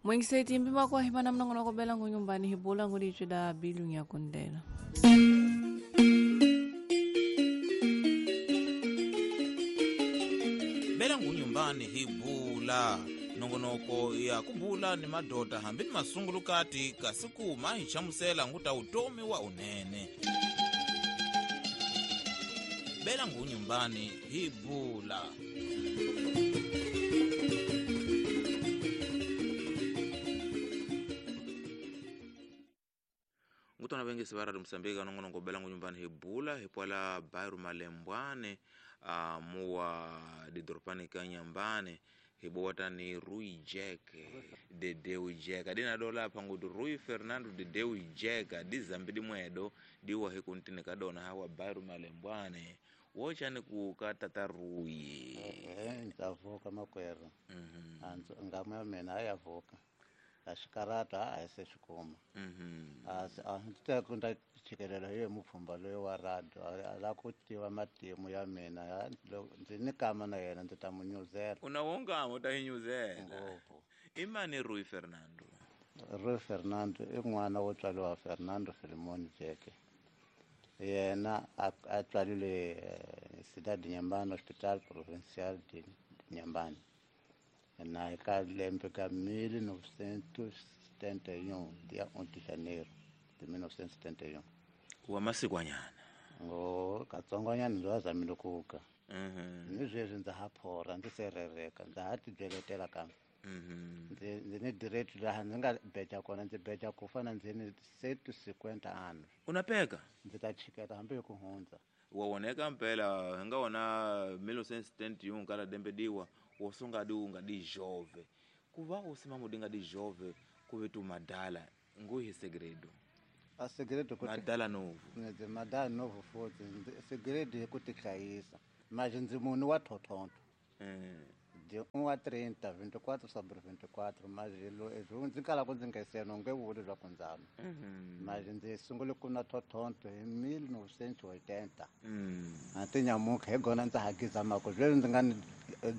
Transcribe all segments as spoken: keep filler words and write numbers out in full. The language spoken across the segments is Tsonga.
Mwengiseti mpima kwa hipana mnongonoko bela ngunyumbani hibula ngulichida bilu nyakundela. Bela ngunyumbani hibula nongonoko ya kubula ni madota hambi ni masungulukati kasi kuma hi chamusela nguta utomi wa unene. Bela ngunyumbani hibula. Ngutona bengi sibara Msambiki nongonoko bela ngunyumbani hibula hipwala Bairu Malembwane uh, muwa didoropani kanyambane hibota ni Rui Jack de Deu Jack adina dola pangudu Rui Fernando de Deu Jack di zambidi mwedo diwa hikuntine kadona hawa Bairu Malembwane wocha ni kukatata Rui eh ntavuka makwero mhm anzo ngamwe mina ayavuka ashikarata ayeseshikuma mhm as a kunda chikelela hiyo mupfumba loyo wa radio ala kutiwa matimu ya mina ndzi ni kama na yena ndzi ta munyuzela unawonga utahinyuzela imani Rui Fernando Rui Fernando i n'wana wo tswariwa Fernando Filimon Jack yena a tswalile Cidade de Inhambane Hospital Provincial de Inhambane na eka lembe ka mil novecentos e setenta e um dia um de janeiro de mil novecentos e setenta e um wa masikwanyana ngo katsongwanyana ndo azamile kuka mhm ni sweswi ndza ha phora ndzi serereka ndza ha tibyeletela kambe mhm ndzi ndzi ni direct laha ndzi nga beja kona ndzi beja ku fana ndzi ni cento e cinquenta anos unapeka ndzi ta chiketa hambi hi ku hundza wa woneka mpela hi nga wona mil novecentos e setenta e um kala dembediwa wosungadi ungadi jove kuva usimama udingadi jove kuve tu madala nguhi segredo a segredo ku madala novo ndzi madala novo futhi segredo hi ku tihlayisa manje ndzi munhu wa thothonto mm de um a trinta vinte e quatro sobre vinte e quatro manje lo ndzi kala ku ndzi nga seno nge vuli swa ku ndzana mhm manje ndzi sungule ku na thothonto hi mil novecentos e oitenta mm a ti nyamuka hi gona ndza hakiza mako sweswi ndzi nga ni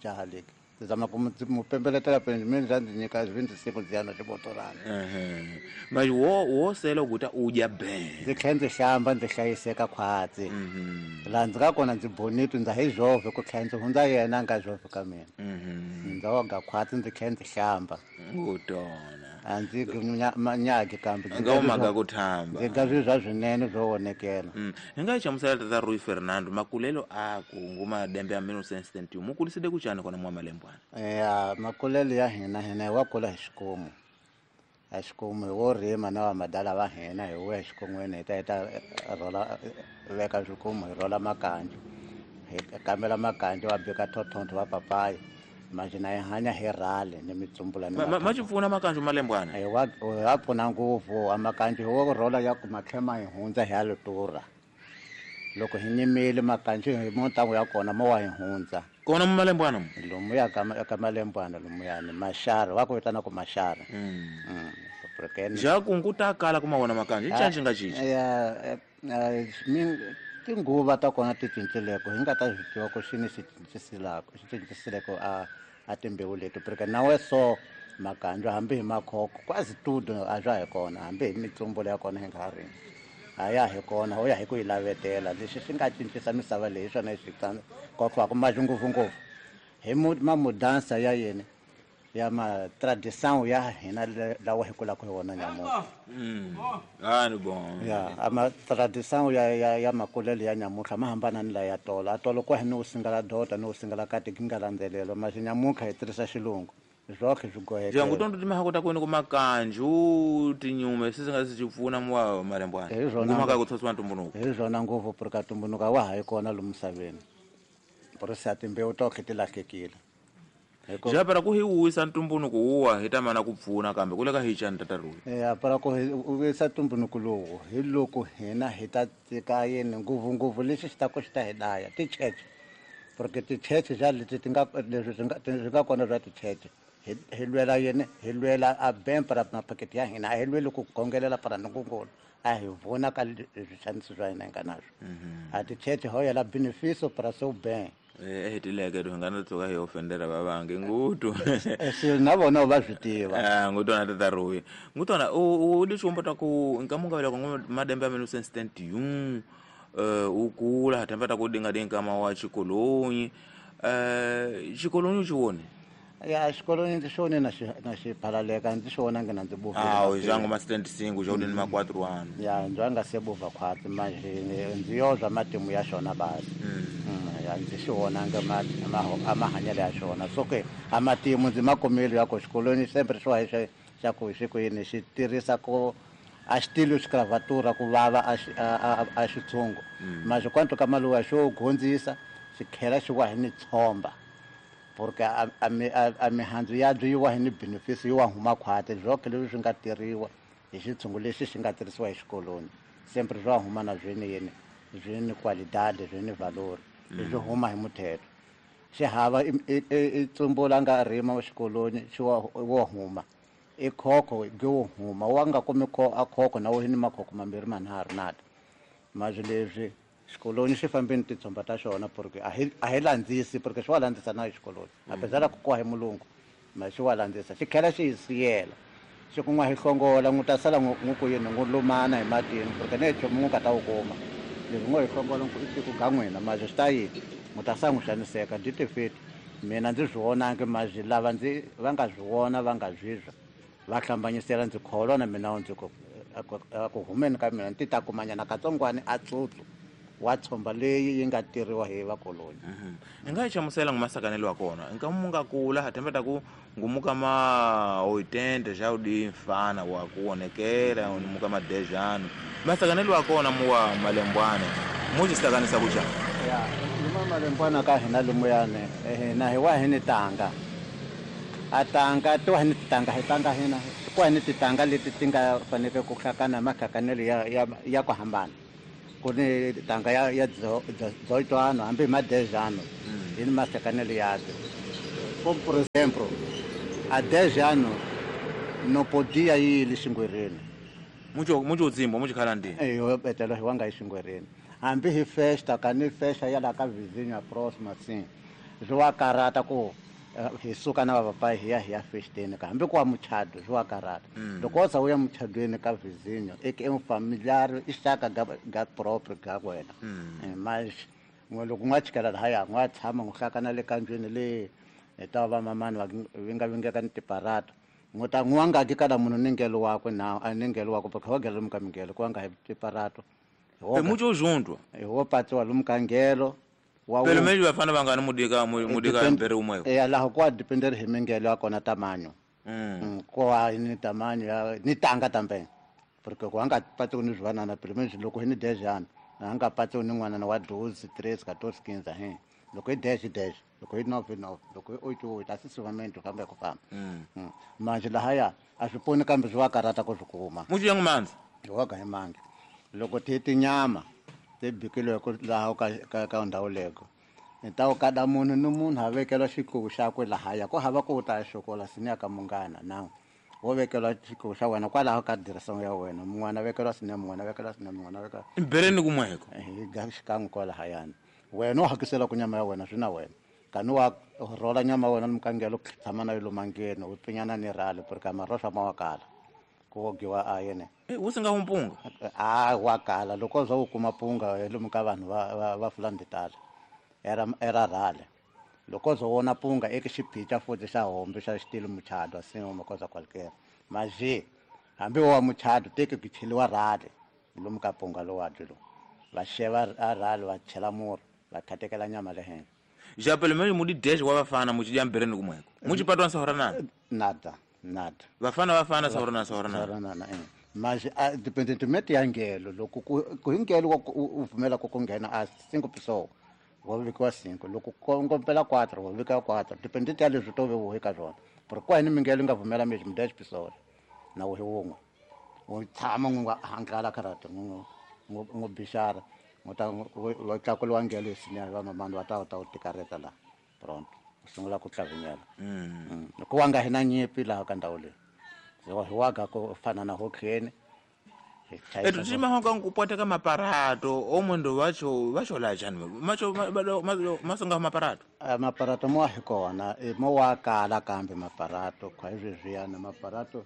jaha leki ndzi zama ku mu pembeletela pele mina ndza ndzi nyika vinte e cinco ndzi ya na xibotorana ehe manje wo wo sela ukuta udya ben ndzi tlhela ndzi hlamba ndzi hlayiseka khwatsi mhm laha ndzi nga kona ndzi bonito ndza hi jove ku tlhela ndzi hundza yena a nga jove ka mina mhm ndza woga khwatsi ndzi tlhela ndzi hlamba ngutona a ndzi manyagi kambe ndzi nga umaga ku thamba ndzi nga swi swa swinene swo vonekela mm hi nga chamusela tata Rui Fernando makulelo aku nguma dembe ya mil novecentos e setenta e um mukuliside kuchani kona mwa Malembwana ya makulelo ya hina hina hi wa kula hi xikomu a xikomu hi wo rima na va madala va hina hi wuya xikon'weni hi ta hi ta rhola veka swikomu hi rhola makanjo hi kambela makanjo va bika thothonto va papaya manje na hi hanya hi rhale ni mitsumbula ni ma xi pfuna makanjo Malembwana hi wa wa pfuna ngopfu a makanjo hi wo rhola ya ku matlhema hi hundza hi ya lutura loko hi nyimile makanjo hi montangu ya kona mo wa hi hundza kona mu Malembwana lomu ya ka ka Malembwana lomuyani maxara va ku vitana ku maxara mm mm porque ja ku nguta kala kuma wona makanjo i canci nga cinci ya min tinguva ta kona ti cincileko hi nga ta swi tiva ku xini xi cincisilako xi cincisileko a a timbewu leti porque nawe so makanjo hambi hi makhoko quase tudo a swa hi kona hambi hi mitsumbulo ya kona hi nga ha rimi a ya hi kona ho ya hi ku yi lavetela lexi xi nga cincisa misava leyi swona xi kokwako manje ngopfungopfu hi mamudansa ya yena ya ma tradição ya hina lawa hi kulaka hi wona nyamuka mm ah ni bon ya ama tradição ya ya ya makulelo ya nyamuka ma hambana ni la ya tolo a tolo kwa hi no singala dota no singala kati ki nga landzelelo manje nyamuka hi tirhisa xilungu zwokhe swi goheke ja ngutondo timahako ta kwenu ku makanju tinyume swi nga swi pfuna mwa Malembwana nguma ka ku tshotsiwa ntumbunuko hi swona ngopfu porque ntumbunuko wa ha yi kona lomu misaveni porque a timbewu tokhe ti lahlekile ja para ku hi wisa ntumbunuko wuwa hi ta mana ku pfuna kambe ku le ka hi chani tata Rui ya para ku hi wisa ntumbunuko lowu hi loko hina hi ta tika yini ngopfungopfu lexi xi ta ku xi ta hi daya ticheche porque ticheche ja leti ti nga leswi swi nga swi nga kona swa ticheche hi hi lwela yini hi lwela a ben para mapaketi ya hina a hi lweli ku khongelela para nungungulu a hi vona ka leswi xaniso swa hina hi nga naswo a ticheche ho yela beneficio para seu bem Eh hetileke to ngana tsoka hi ofendera vavange ngutu se na vona va swi tiva eh ngutu na tata Rui ngutu na u di xumba ta ku nkamunga vela ku madembe ya mille neuf cent setenta e um eh ukula hatemba ta ku dinga dinga ma wa xikolonyi eh xikolonyi xi wone ya xikolonyi ndzi xi na xi na xi phalaleka ndzi xi vona ngena ndzi buvile ah jango ma setenta e cinco já ni ma quatro anos ya ndzi nga se buva khwatsi manje ndzi yozwa matimu ya xona basi ya ndzi xi vonanga ma ma mahanyelo ya xona so ke a matimu ndzi makumile ya ku xikolweni sempre xo xa xa ku xi ku yini xi tirhisa ku a xitilo xicravatura ku vava a a xitshungu manje quanto ka maluwa xo gondzisa xi khela xi wa hi ni tshomba porque a a mihandzu ya byi wa hi ni benefits yi wa huma khwati byoke leswi swi nga tirhiwa hi xitshungu lexi xi nga tirhisiwa hi xikolweni sempre swa huma na byini yini byi ni qualidade byi ni valor byi huma hi muthetho xi hava i tsumbula nga rima xikolweni xi wa wo huma i khokho gi wo huma wa nga kumi kho a khokho na wo ni makhokho mambirhi manharhu nada mazwi leswi xikolweni xi fambeni titshomba ta xona porque a hi a hi landzisi porque xi wa landzisa na xikolweni apesar ku kwa hi mulungu ma xi wa landzisa xi khela xi hi siyela xi ku n'wa hi hlongola n'wi ta sala n'wi ku yini n'wi lumana hi matini porque ne nchumu n'wi nga ta wu kuma leswi n'wi hi hlongola i tiko ga n'wina mazwi swi ta yini n'wi ta sala n'wi xaniseka ndzi tifeti mina ndzi swi vonangi mazwi lava ndzi va nga swi vona va nga swi zwa va hlambanyisela ndzi kholwa na mina ndzi ku ku humeni ka mina ndzi ta kumanyana katsongwana a tsutsu wa tshomba leyi yi nga tirhiwa hi vakoloni hi nga yi hlamusela ngumasakanelo wa kona nkamu nga kula hatemba ta ku ngumuka ma oitenta já udi mfana wa kuonekela muka ma dez anos masakanelo wa kona muwa malembwana muxisakanisa kuxa ya luma malembwana ka hina lumuyane hina hi wa hi ni tanga a tanga to hi ni tanga hi tanga hina ku hi ni titanga leti ti nga faneke ku hlakana mahlakanelo ya ya ya ku hambana ku ni tanga ya ya dezoito anos hambi ma dez anos hi ni mahlakanelo ya como por exemplo a dez anos não podia ir xingwereni mucho mucho dzimbo mucho khala ndini eh yo betela hi wanga xingwereni hambi hi festa ka ni festa ya la ka vizinho a próxima assim swi wa karata ku hi suka na vapapai hi ya hi ya festeni ka hambi ku wa muchado swi wa karata loko wo za u ya muchadweni ka vizinho e ke um familiar i xaka ga ga próprio ga wena mas loko n'wa chikela lahaya n'wa tshama n'wi hlakana le kanjweni le hi ta va mamani va vinga vingeka ni tiparata n'wi ta n'wi nga kada munhu ni ngelo wakwe na a ni ngelo wakwe porque wa gela lomu ka mingelo ku nga hi tiparato e mucho junto hi wo patsiwa lomu ka ngelo pelo menos vafana va nga ni mudika mudika mbere umwe eh laha kwa depender hi mingelo ya kona tamanyo mm kwa ni tamanyo ya ni tanga também porque ku nga patsiwa ni zwivanana pelo menos loko hi ni dez anos a nga patsiwa ni n'wana wa doze treze quatorze quinze he loko hi dez dez loko hi nove nove loko hi oito oito asisivamento famba ku famba manje lahaya a swi poni kambe swi wa karata ku swi kuma mucho yangu mandza hi wa ga hi mandla loko ti tinyama ti bikilweke laha ka ka ka ndhawu leko ni ta kada munhu ni munhu a vekela xikuvu xakwe lahaya ku hava ku ta xokola sini ya ka munghana na wo vekela xikuvu xa wena kwalaho ka direção ya wena mun'wana vekela sini mun'wana vekela sini mun'wana vekela bereni kumweko hi ga xikan'we kwalahayana wena u hakisela ku nyama ya wena swi na wena kani wa rhola nyama ya wena ni mukangelo tshama na yo mangeni u pfinyana ni rhale porque maroswa ma wa kala ku wogiwa a yene wu si nga humpunga a wa kala loko za u kuma punga lomu ka vanhu va va va fulani tala era era rhale loko zo wona punga eka xiphica futhi xa hombe xa xitilo muchado assim uma coisa qualquer mas hambi wa muchado teke ku cheliwa rhale lomu ka punga lowa dyi lo va xeva a rhale va chela murhi va khatekela nyama le henhla já pelo menos mudi dez wa vafana muchidya mbereni kumweko muchipatwa sahora nana nada nada vafana vafana sahora na sahora nana nana eh mas independentemente ya ngelo loko ku hi ngelo u pfumela ku ku nghena a cinco pessoas wa vekiwa cinco loko ku ngompela quatro wa vekiwa quatro dependente ya leswi to ve eka swona porque kwa ni mingelo nga pfumela mesmo dez pessoas na wo hi wun'we u tshama n'wi nga hankala karata n'wi n'wi bixara n'wi ta wa tlakuliwa ngelo sinya va mamani va ta ta u tikareta la pronto u sungula ku tlavinyela loko wa nga hi na nyipi laha ka ndhawu leyi hi waga ku fana na hokheni Etu timahonga nkupwateka maparato omwendo wacho vachola chani macho masonga maparato maparato mo hi kona mo wa kala kambe maparato kwa hizvezviyana maparato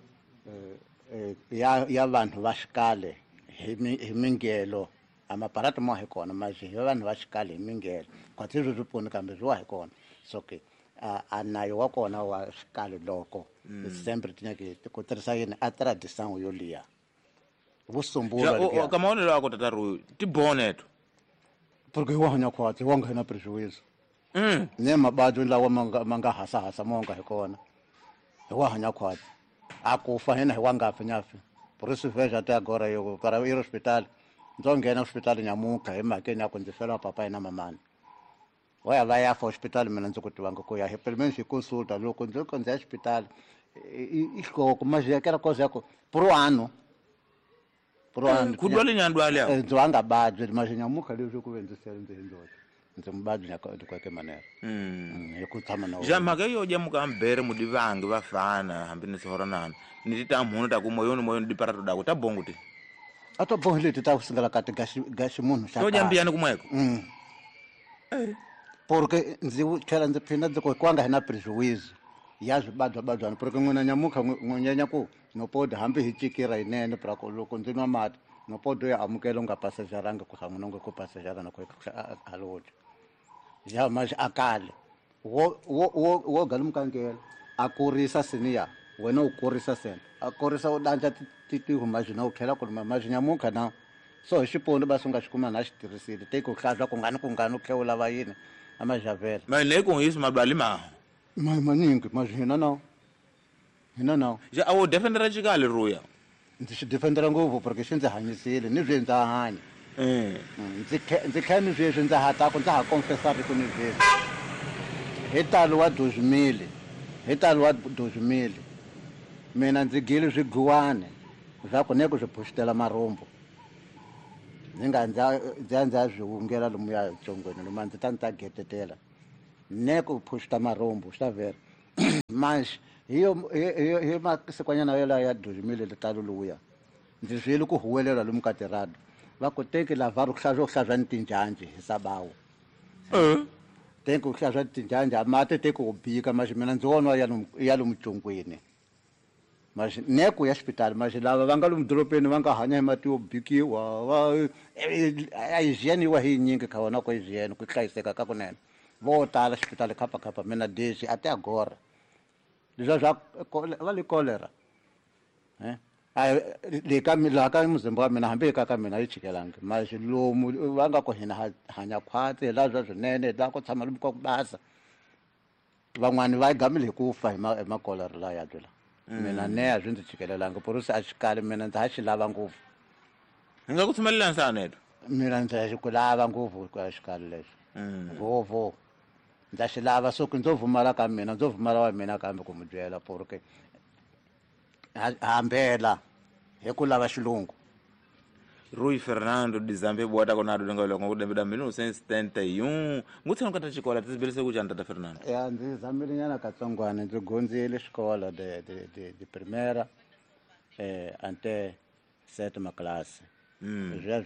ya ya vanhu va xikale hi hi mingelo a maparato mo hi kona maji hi vanhu va xikale hi mingelo kwa tizvo swi pfuni kambe swi wa hi kona so ke a nayo wa kona wa xikale loko sempre tinyake ku tirhisa yini a tradição yo liya vusumbula ka maonelo ako tata Rui ti boneto porque wa hanya khwatsi wa nghena prejuízo mm ne mabadyo lawa ma nga hasa hasa mo nga hi kona hi wa hanya khwatsi a ku fa hina hi wa nga fi nyafi por isso veja até agora eu para ir ao hospital ndzo nghena hospital nyamuka hi mhakeni ya ku ndzi fela papai na mamani wa ya va ya fa hospital mina ndzi ku tivanga ku ya hi pelo menos hi consulta loko ndzi ko ndzi ya hospital i hloko mas aquela coisa ya ku por ano por ano ku dwale nyandwale ya ndzi wa nga badyi mas nyamuka leswi ku ve ndzi sele ndzi hi ndzoxe ndzi mubadyi nya de qualquer maneira mm hi ku tshama na ja mhaka yo dya muka mbere mudivangi vafana hambi ni sihoranana ni ti ta mhunu ta ku moyoni moyoni diparato dako ta bongo ti a to bongo leti ta ku singela ka ti gaxi gaxi munhu xa to dya mbiyani kumweko mm porque ndzi tlhela ndzi phinda ndzi ku kwanga hi na prejuízo ya swibadwabadwana porque n'wina nyamuka n'wanyanya ku no pode hambi hi cikira yinene pra ku loko ndzi nwa mati no pode ya amukela u nga passageranga ku hamuna nga ku passagera na ku haloja ja mas akale wo wo wo wo galumukangela a kurisa siniya wena u kurisa sena a kurisa u danja ti ti humajina u tlhela ku maji nyamuka na so hi xiponi ba sunga xikuma na xi tirhisile te ku hlantswa ku ngani ku ngani u tlhela u lava yini a majavela ma le ku yisi mabali ma ma maningi mas hina no hina no ja a wo defendera xikale Ruya ndzi xi defendera ngopfu porque xi ndzi hanyisile ni swi ndza hanya eh ndzi ndzi kha ni sweswi ndza ha ta ku ndza ha confessar ku ni sweswi hi talo wa dois mil hi talo wa dois mil mina ndzi gile swiguwane swa ku ne ku swi phuxitela marhumbu ndzi nga ndza ndza ndza swi wungela lomuya tsongweni lomu ndzi ta ndzi ta getetela ne ku phuxita marhumbu swi ta vhela mas hi yo hi masikwanyana yo ya dois mil talo luya ndzi swile ku huwelela lomu ka tirado va ku teki lavar ku hlantswa ku hlantswa ni tinjhanji hi sabawu eh teki ku hlantswa tinjhanji a mati teki ku bika mas mina ndzi vona ya ya lomu tsongweni mas ne ku ya xipitali mas lava va nga lomu doropeni va nga hanya hi mati yo bikiwa va a hygiene wa hi nyingi kha wona ku hygiene ku hlayiseka ka kunene vo tala xipitali khapa khapa mina desi até agora leswi swa va le cholera eh a le ka la ka muzimba wa mina hambi ka ka mina yi chikelangi mas lomu va nga ku hina hanya khwatsi la swa swinene la ku tshama lomu ka ku basa van'wani va gamile hi ku fa hi ma hi ma cholera la ya byela mina ne a swi ndzi chikelelangi por isso a xikali mina ndzi ha xi lava ngopfu hi nga ku tshumelela nsaneto mina ndzi ha xi ku lava ngopfu ku xikali lexi ngopfu ndza xi lava so ku ndzo vumala ka mina ndzo vumala wa mina kambe ku mu byela porque hambela hi ku lava xilungu Rui Fernando de Zambia bota kona do nga loko ku dembe mil novecentos e setenta e um ngutshana ka ta xikola tisibelise ku janta ta Fernando ya ndzi zamile nyana katsongwana ndzi gondzile xikola de de de de primeira eh ante sétima classe mm. Já